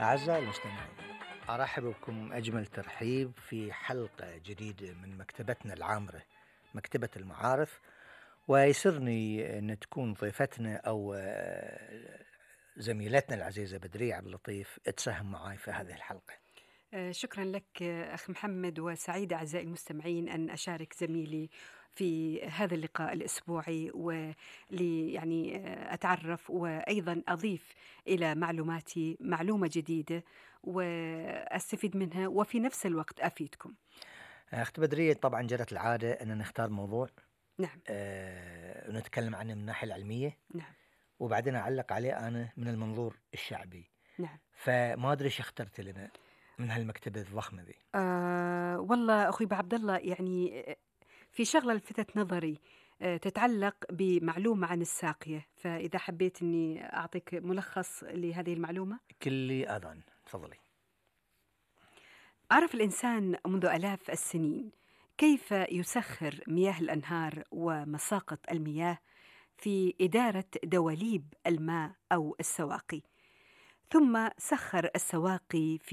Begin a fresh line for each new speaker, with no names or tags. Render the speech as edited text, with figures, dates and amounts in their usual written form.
أعزائي المستمعين، أرحب بكم أجمل ترحيب في حلقة جديدة من مكتبتنا العامرة، مكتبة المعارف. ويسرني أن تكون ضيفتنا أو زميلتنا العزيزة بدرية عبد اللطيف تساهم معي في هذه الحلقة.
شكرا لك أخ محمد، وسعيدة أعزائي المستمعين أن أشارك زميلي في هذا اللقاء الأسبوعي، ولي يعني أتعرف وأيضا أضيف إلى معلوماتي معلومة جديدة وأستفيد منها وفي نفس الوقت أفيدكم.
أخت بدرية، طبعا جرت العادة أن نختار موضوع
نعم.
ونتكلم عنه من الناحية العلمية،
نعم.
وبعدين أعلق عليه أنا من المنظور الشعبي.
نعم.
فما أدري شو اخترت لنا من هالمكتبة الضخمة ذي.
والله أخوي عبد الله، يعني في شغلة لفتت نظري تتعلق بمعلومة عن الساقية، فإذا حبيت أني أعطيك ملخص لهذه المعلومة.
كلي أذان، تفضلي.
عرف الإنسان منذ آلاف السنين كيف يسخر مياه الأنهار ومساقط المياه في إدارة دواليب الماء أو السواقي، ثم سخر السواقي في